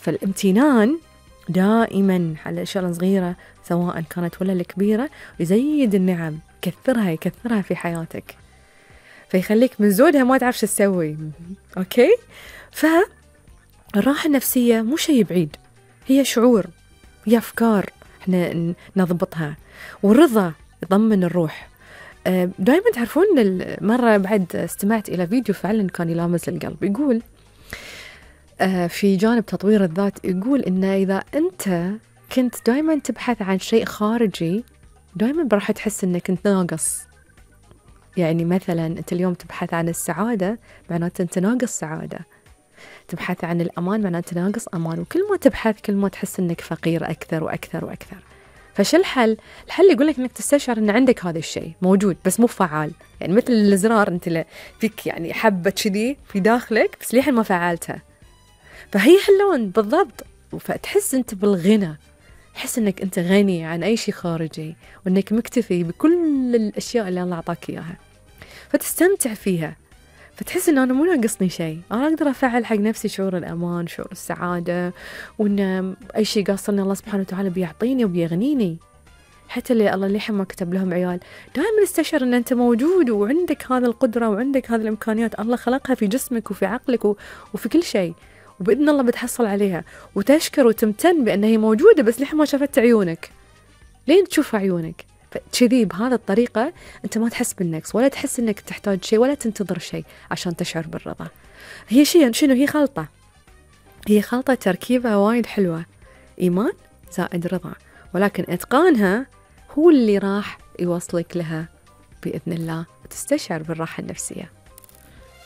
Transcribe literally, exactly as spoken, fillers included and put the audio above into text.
فالامتنان دائما على الأشياء الصغيرة سواء كانت ولا الكبيرة يزيد النعم، يكثرها يكثرها في حياتك، فيخليك من زودها ما تعرف شو تسوي. أوكي؟ فالراحة النفسية مو شيء بعيد، هي شعور، هي أفكار إحنا نضبطها، والرضا يضمن الروح. دائما تعرفون مرة بعد استمعت إلى فيديو فعلا كان يلامس القلب، يقول في جانب تطوير الذات، يقول إن إذا أنت كنت دائما تبحث عن شيء خارجي دائما راح تحس إنك أنت ناقص. يعني مثلا أنت اليوم تبحث عن السعادة معناته أنت ناقص سعادة، تبحث عن الأمان معناته ناقص أمان، وكل ما تبحث كل ما تحس إنك فقير أكثر وأكثر وأكثر. فشو الحل؟ الحل يقول لك إنك تستشعر إن عندك هذا الشيء موجود بس مو فعال، يعني مثل الزرار أنت فيك يعني حبة كذي في داخلك بس ليحين ما فعلتها، فهي هاللون بالضبط. فتحس أنت بالغنى، تحس إنك أنت غني عن أي شيء خارجي، وإنك مكتفي بكل الأشياء اللي الله أعطاك إياها، فتستمتع فيها، فتحس إن أنا مو ناقصني شيء، أنا أقدر أفعل حق نفسي شعور الأمان، شعور السعادة، وإن أي شيء قاصرني الله سبحانه وتعالى بيعطيني وبيغنيني. حتى اللي الله ليحين ما كتب لهم عيال دائما استشعر إن أنت موجود وعندك هذه القدرة وعندك هذه الإمكانيات، الله خلقها في جسمك وفي عقلك وفي كل شيء، وبإذن الله بتحصل عليها، وتشكر وتمتن بأنها هي موجودة بس ليحين ما شافت عيونك، لين تشوف عيونك. فكذي بهذا الطريقة أنت ما تحس بالنقص ولا تحس إنك تحتاج شيء ولا تنتظر شيء عشان تشعر بالرضا. هي شيء شنو؟ هي خلطة، هي خلطة تركيبها وايد حلوة، إيمان زائد رضا، ولكن إتقانها هو اللي راح يوصلك لها بإذن الله وتستشعر بالراحة النفسية.